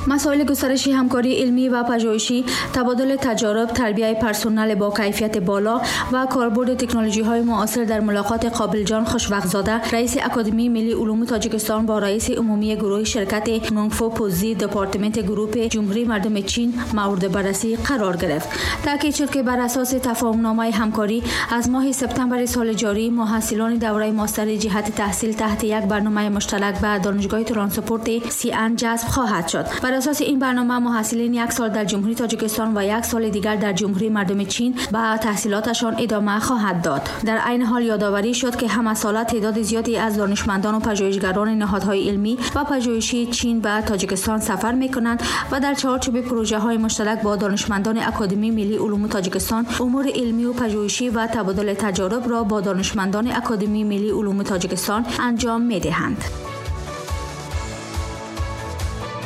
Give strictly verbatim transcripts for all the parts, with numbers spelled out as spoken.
مسائل گسترش همکاری علمی و پژوهشی، تبادل تجارب، تربیت پرسنل با کیفیت بالا و کاربرد تکنولوژی‌های معاصر در ملاقات قابل جان خوشوقت‌زاده رئیس اکادمی ملی علوم تاجیکستان با رئیس عمومی گروه شرکت نونگفو پوزی دپارتمنت گروپ جمهوری مردم چین مورد بررسی قرار گرفت. تاکید شد که بر اساس تفاهم‌نامه همکاری از ماه سپتامبر سال جاری محصلان دوره ماستر جهت تحصیل تحت یک برنامه مشترک به دانشگاه ترانسپورت سی ان جذب خواهد شد. بر اساس این برنامه محصلین یک سال در جمهوری تاجیکستان و یک سال دیگر در جمهوری مردم چین به تحصیلاتشان ادامه خواهد داد. در عین حال یادآوری شد که همه ساله تعداد زیادی از دانشمندان و پژوهشگران نهادهای علمی و پژوهشی چین به تاجیکستان سفر می‌کنند و در چارچوب پروژه‌های مشترک با دانشمندان اکادمی ملی علوم تاجیکستان امور علمی و پژوهشی و تبادل تجارب را با دانشمندان اکادمی ملی علوم تاجیکستان انجام می‌دهند.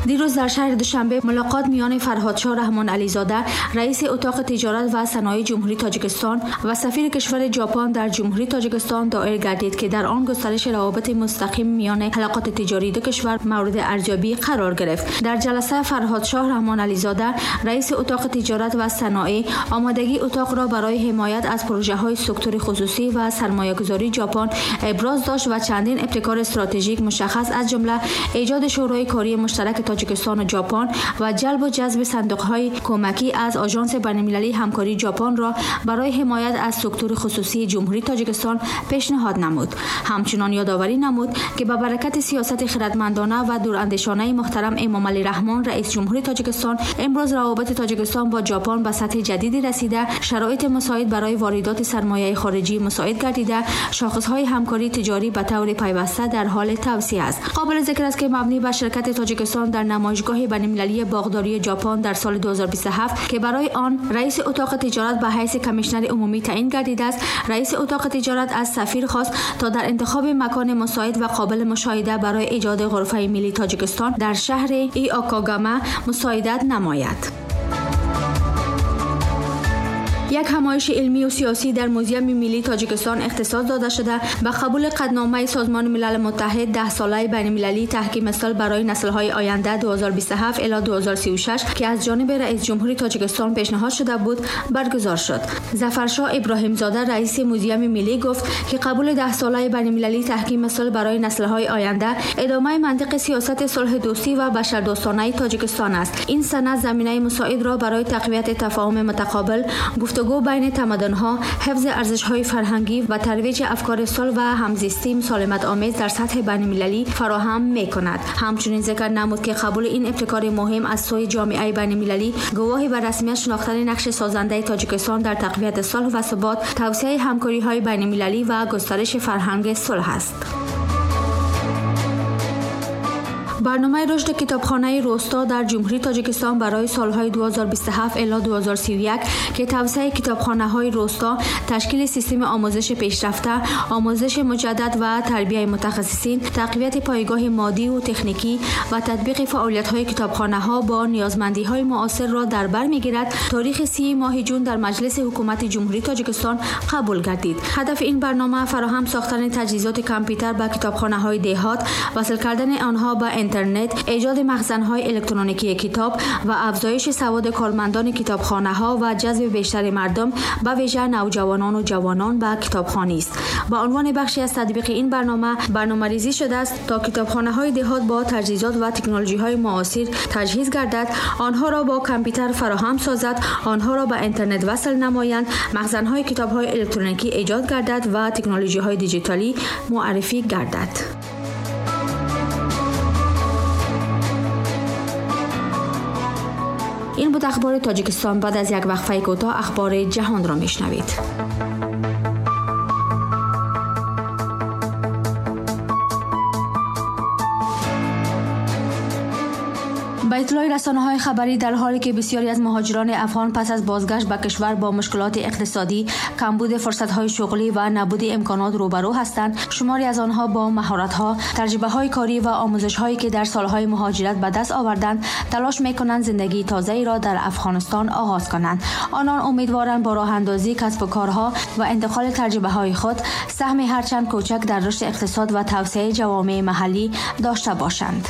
دیروز در شهر دوشنبه ملاقات میان فرهادشاه رحمان علیزاده رئیس اتاق تجارت و صنایع جمهوری تاجیکستان و سفیر کشور ژاپن در جمهوری تاجیکستان دایر گردید که در آن گسترش روابط مستقیم میان حلقات تجاری دو کشور مورد ارزیابی قرار گرفت. در جلسه فرهادشاه رحمان علیزاده رئیس اتاق تجارت و صنایع آمادگی اتاق را برای حمایت از پروژه‌های سکتور خصوصی و سرمایه‌گذاری ژاپن ابراز داشت و چندین ابتکار استراتژیک مشخص از جمله ایجاد شورای کاری مشترک تاجیکستان و ژاپن و جلب و جذب صندوق‌های کمکی از آژانس بین‌المللی همکاری ژاپن را برای حمایت از سکتور خصوصی جمهوری تاجیکستان پیشنهاد نمود. همچنان یادآوری نمود که به برکت سیاست خردمندانه و دوراندیشانه محترم امامعلی رحمان رئیس جمهوری تاجیکستان امروز روابط تاجیکستان با ژاپن به سطح جدیدی رسیده، شرایط مساعد برای واردات سرمایه خارجی مساعد گردیده، شاخص‌های همکاری تجاری به طور پیوسته در حال توسعه است. قابل ذکر است که مبنی بر شرکت تاجیکستان در نمایشگاه بین‌المللی باغداری ژاپن در سال دو هزار و بیست و هفت که برای آن رئیس اتاق تجارت به حیث کمیشنر عمومی تعیین گردیده است، رئیس اتاق تجارت از سفیر خواست تا در انتخاب مکان مساعد و قابل مشاهده برای ایجاد غرفه ملی تاجیکستان در شهر ایاکاگاما مساعدت نماید. یک همایش علمی و سیاسی در موزیم ملی تاجیکستان اختصاص داده شده به قبول قدنامه سازمان ملل متحد ده ساله بین‌المللی تحکیم صلح برای نسل‌های آینده دو هزار و بیست و هفت الی دو هزار و سی و شش که از جانب رئیس جمهوری تاجیکستان پیشنهاد شده بود برگزار شد. ظفرشاه ابراهیم زاده رئیس موزیم ملی گفت که قبول ده ساله بین‌المللی تحکیم صلح برای نسل‌های آینده ادامه منطق سیاست صلح دوستی و بشردوستانه تاجیکستان است. این سند زمینه مساعد را برای تقویت تفاهم متقابل، گفتگو بین تمدن‌ها، حفظ ارزش‌های فرهنگی و ترویج افکار صلح و همزیستی مسالمت‌آمیز در سطح بین‌المللی فراهم می‌کند. همچنین ذکر نمود که قبول این ابتکار مهم از سوی جامعه بین‌المللی گواهی بر رسمیت شناختن نقش سازنده تاجیکستان در تقویت صلح و ثبات، توسعه همکاری‌های بین‌المللی و گسترش فرهنگ صلح است. برنامه رشد کتابخانه روستا در جمهوری تاجیکستان برای سالهای دو هزار و بیست و هفت الی دو هزار و سی و یک که توسعه کتابخانه‌های روستا، تشکیل سیستم آموزش پیشرفته، آموزش مجدد و تربیت متخصصین، تقویت پایگاه مادی و تکنیکی و تطبیق فعالیت‌های کتابخانه‌ها با نیازمندی‌های معاصر را در بر می‌گیرد، تاریخ سی ماه جون در مجلس حکومت جمهوری تاجیکستان قبول گردید. هدف این برنامه فراهم ساختن تجهیزات کامپیوتر به کتابخانه‌های دهات، وصل کردن آنها به اینترنت، ایجاد مخزن‌های الکترونیکی کتاب و افزایش سواد کارمندان کتابخانه‌ها و جذب بیشتر مردم به ویژه نوجوانان و جوانان به کتابخوانی است. به عنوان بخشی از تطبیق این برنامه برنامه‌ریزی شده است تا کتابخانه‌های دهات با تجهیزات و تکنولوژی‌های معاصر تجهیز گردد، آنها را با کامپیوتر فراهم سازد، آنها را به اینترنت وصل نمایند، مخزن‌های کتاب‌های الکترونیکی ایجاد گردد و تکنولوژی‌های دیجیتالی معرفی گردد. این بود اخبار تاجیکستان. بعد از یک وقفه کوتاه اخبار جهان را میشنوید. به اطلاع رسانه‌های خبری، در حالی که بسیاری از مهاجران افغان پس از بازگشت به کشور با مشکلات اقتصادی، کمبود فرصت‌های شغلی و نبود امکانات روبرو هستند، شماری از آنها با مهارت‌ها، تجربه‌های کاری و آموزش‌هایی که در سال‌های مهاجرت به دست آوردند، تلاش می‌کنند زندگی تازه‌ای را در افغانستان آغاز کنند. آنان امیدوارند با راه‌اندازی کسب و کارها و انتقال تجربه‌های خود، سهم هرچند کوچک در رشد اقتصاد و توسعه جوامع محلی داشته باشند.